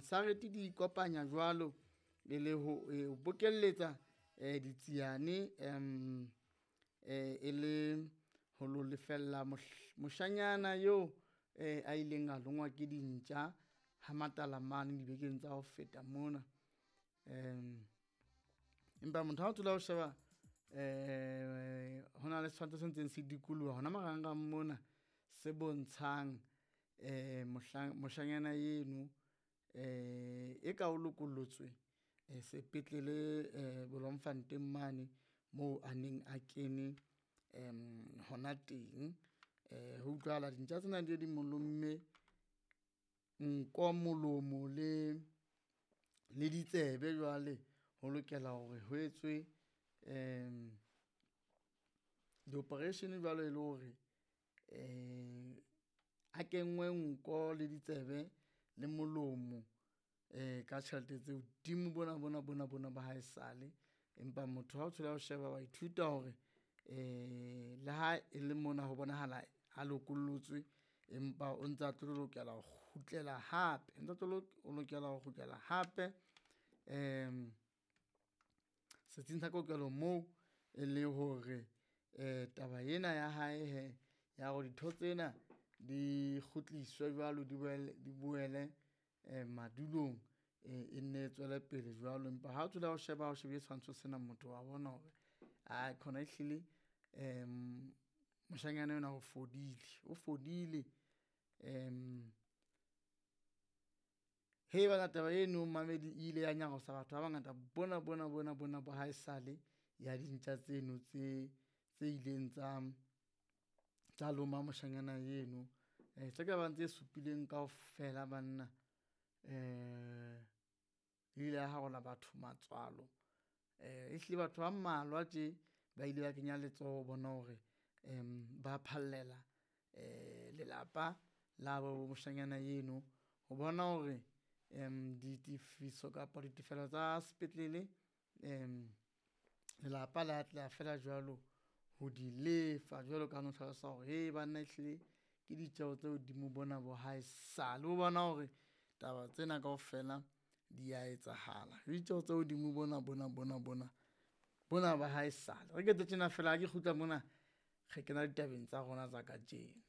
Sareti di ikopanya jwalo e le ho bokelletsa ditsiane e le ho lo lefella moshanyana eo a ileng a longwa ke dintja ha matala mane dibekeng tsa ho feta mona. Empa motho ha o thola ho sheba ho na le setshwantsho se ntseng se dikoloha hona marangrang mona se bontshang moshanyana eno e ka o lokollotswe sepetlele Bloemfontein mane moo a neng a kene hona teng. Ho utlwahala dintja tsena di mo lomme nko, molomo le ditsebe jwale ho lokela hore ho etswe di-operation jwalo e le hore a kenngwe nko le ditsebe le molomo ka tjhelete tse hodimo bona bona bona bona ba haesale. Empa motho ha o thola o sheba wa ithuta hore le ha e le mona ho bonahala a lokollotswe, empa o ntsa tlo lokela ho kgutlela hape, o ntsa tlo lokela ho kgutlela hape setsing sa kokelo moo e le hore taba ena ya hae hee ya hore ditho tsena di kgutliswe jwalo di boele madulong e nne e tswele pele jwalo. Empa ha o thola o sheba o shebile setshwantsho sena, motho wa bona hore ae khona ehlile moshanyana enwa o fodile, o fodile. Hee banna taba eno momamedi e ile ya nyarosa batho ba bangata bona bona bona bona ba haesale ya dintja tseno tse ileng tsa loma moshanyana eno. Tse ka bang tse supileng kaofela banna e ile ya harola batho matswalo. Ehlile batho ba mmalwa tje ba ile ba kenya letsoho ho bona hore ba phallela lelapa la bo moshanyana eno ho bona hore ditefiso kapa ditefello tsa sepetlele lelapa le atleha feela jwalo ho di lefa. Jwalo ka ha no hlalosa hore hee banna ehlile ke ditjeho tse hodimo bona bo haesale o bona hore taba tsena kaofela di a etsahala. Le ditjeho tse hodimo bona bona bona bona bona ba haesale. Re ke etse tjena feela ha ke kgutla mona re kena ditabeng tsa rona tsa kajeno.